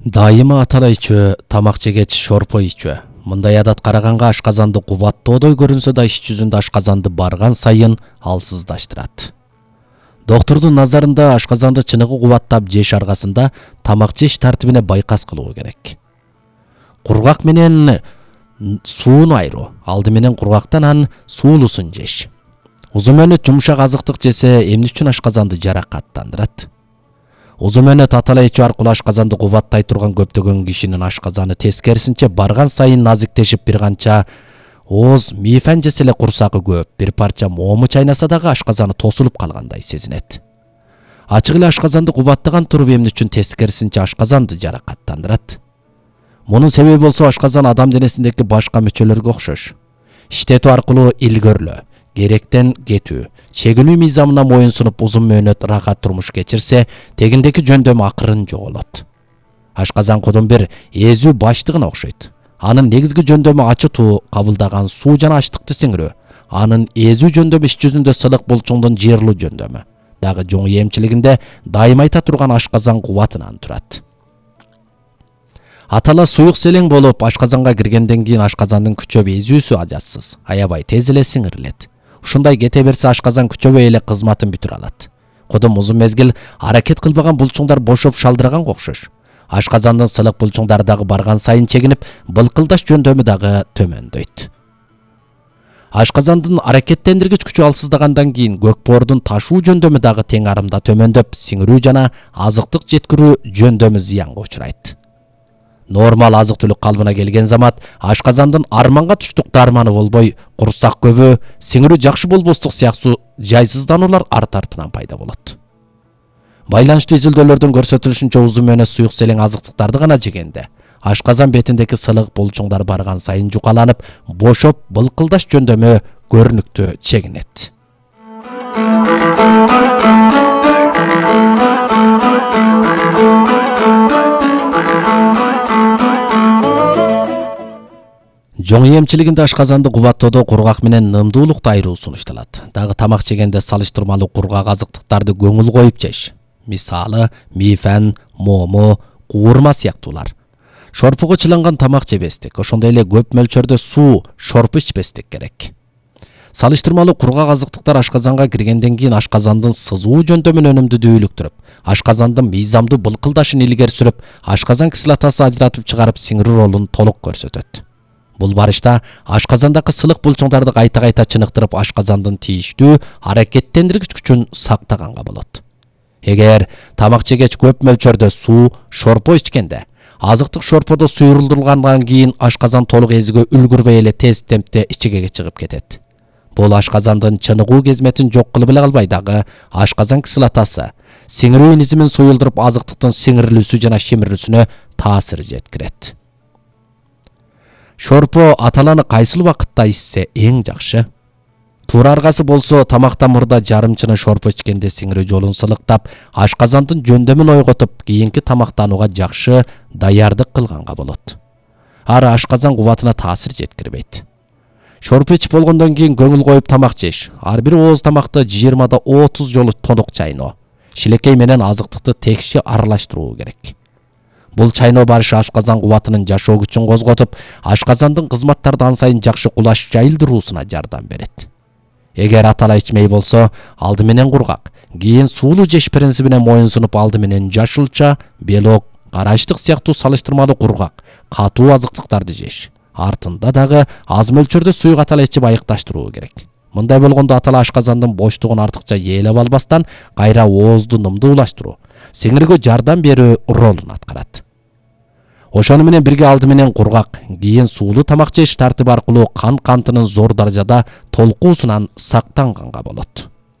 Дайыма аталай ичүү, тамак жегеч шорпо ичүү. Мындай адат караганга ашказанды кубаттоодой көрүнсө да иш жүзүндө ашказанды барган сайын алсыздаштырат. Доктурдун назарында ашказанды чыныгы кубаттап жеш аргасында тамак жеш тартибине байкас кылуу керек. Кургак менен сууну айыруу. Алды менен кургактан анын суулусун жеш. Узун мөөнөт жумшак азыктык жесе эмне үчүн ашказанды жаракаттандырат? Узун мөөнөт аталай ичүү аркылуу ашказанды кубаттай турган көптөгөн кишинин ашказаны тескерисинче барган сайын назиктешип бир канча ооз мифен жесе эле курсагы көп, бир парча моому чайнаса дагы ашказаны тосулуп калгандай сезинет. Ачык эле ашказанды кубаттаган туруп эмне үчүн тескерисинче ашказанды жаракаттандырат? Мунун себеби болсо ашказан адам денесиндеги башка мүчөлөргө окшош. Иштетүү аркылуу илгөрлөө, керектен кетүү, чегинүү мыйзамына моюнсунуп узун мөөнөт рахат турмуш кечирсе, тегиндеги жөндөмү акырын жоголот. Ашказан кудун бир эзүү баштыгына окшойт. Анын негизги жөндөмү ачытуу, кабылдаган суу жана ачтыкты сиңирүү. Анын эзүү жөндөмү иш жүзүндө сылык булчуңдун жыйырылуу жөндөмү. Дагы жоң эмчилигинде дайыма айта турган ашказан кубатынан турат. Атала суюк селең болуп, ашказанга киргенден кийин ашказандын күчөп эзүүсү ажатсыз, аябай тез эле сиңирилет. Ушундай кете берсе ашказан күчөбөй эле кызматын бүтүрө алат. Кудум узун мезгил аракет кылбаган булчуңдар бошоп шалдыраган окшош. Ашказандын сылык булчуңдары дагы барган сайын чегинип, былкылдаш жөндөмү дагы төмөндөйт. Ашказандын аракеттендиргич күчү алсыздагандан кийин көкбоордун ташуу жөндөмү дагы тең арымда төмөндөп, сиңирүү жана азыктык жеткирүү жөндөмү зыянга учурайт. Нормал азык-түлүк калыбына келген замат ашказандын арманга туштук дарманы болбой, курсак көбү, сиңирүү жакшы болбостук сыяктуу жайсыздануулар арт-артынан пайда болот. Байланыштуу изилдөөлөрдөн көрсөтүлүшүнчө узун мөөнөт суюк селең азыктыктарды гана жегенде ашказан бетиндеги сылык булчуңдар барган сайын жукаланып, бошоп, былкылдаш жөндөмү көрүнүктүү чегинет. Жоң эмчилигинде ашказанды кубаттоодо кургак менен нымдуулукту айыруу сунушталат. Дагы тамак жегенде салыштырмалуу кургак азыктыктарды көңүл коюп жеш. Мисалы, мифен, моому, куурма сыяктуулар. Шорпуга чыланган тамак жебестик, ошондой эле көп мөлчөрдө суу, шорпу ичпестик керек. Салыштырмалуу кургак азыктыктар ашказанга киргенден кийин ашказандын сызуу жөндөмүн өнүмдүүлүктүрүп, ашказандын мыйзамдуу былкылдашын илгери сүрүп, ашказан кислотасы ажыратып чыгарып сиңирүү ролун толук көрсөтөт. Бул барышта ашказандагы сылык булчуңдарды кайта-кайта чыныктырып, ашказандын тийиштүү аракеттендиргич күчүн сактаганга болот. Эгер тамак жегеч көп мөлчөрдө суу, шорпо ичкенде, азыктык шорподо суйрулдургандан кийин ашказан толук эзүүгө үлгүрбөй эле тез темпте ичегеге чыгып кетет. Бул ашказандын чыныгуу кезметин жок кылып эле калбай, дагы ашказан кислотасы сиңирүү низимин суюлдуруп, азыктыктын сиңирилүүсү жана шимирүүсүнө таасир жеткирет. Шорпо аталаны кайсыл убакытта ичсе эң жакшы? Туура аргасы болсо, тамактан мурда жарым чыны шорпо ичкенде сиңирүү жолун сылыктап, ашказандын жөндөмүн ойготуп, кийинки тамактанууга жакшы даярдык кылганга болот. Ары ашказан кубатына таасир жеткирбейт. Шорпо ичип болгондон кийин көңүл коюп тамак жеш. Ар бир ооз тамакты 20-30 жолу толук чайноо. Шилекей менен азыктыкты текши аралаштыруу керек. Бул чайноо барышы ашказан кубатынын жашоо күчүн козготуп, ашказандын кызматтарды ан сайын жакшы кулаш жайылдыруусуна жардам берет. Эгер аталай ичмей болсо, алды менен кургак, кийин суулуу жеш принцибине моюнсунуп, алды менен жашылча, белок, карачтык сыяктуу салыштырмалуу кургак, катуу азыктыктарды жеш. Артында дагы аз мөлчөрдө суюк аталай ичип айыкташтыруу керек. Мындай болгондо атала ашказандын боштугун артыкча ээлеп албастан, кайра оозду нымдуулаштыруу, сиңирүүгө жардам берүү ролун аткарат. Ошону менен бирге алды менен кургак, кийин суулуу тамак жеш тартиби аркылуу кан кантынын зор даражада толкуусунан сактанганга болот.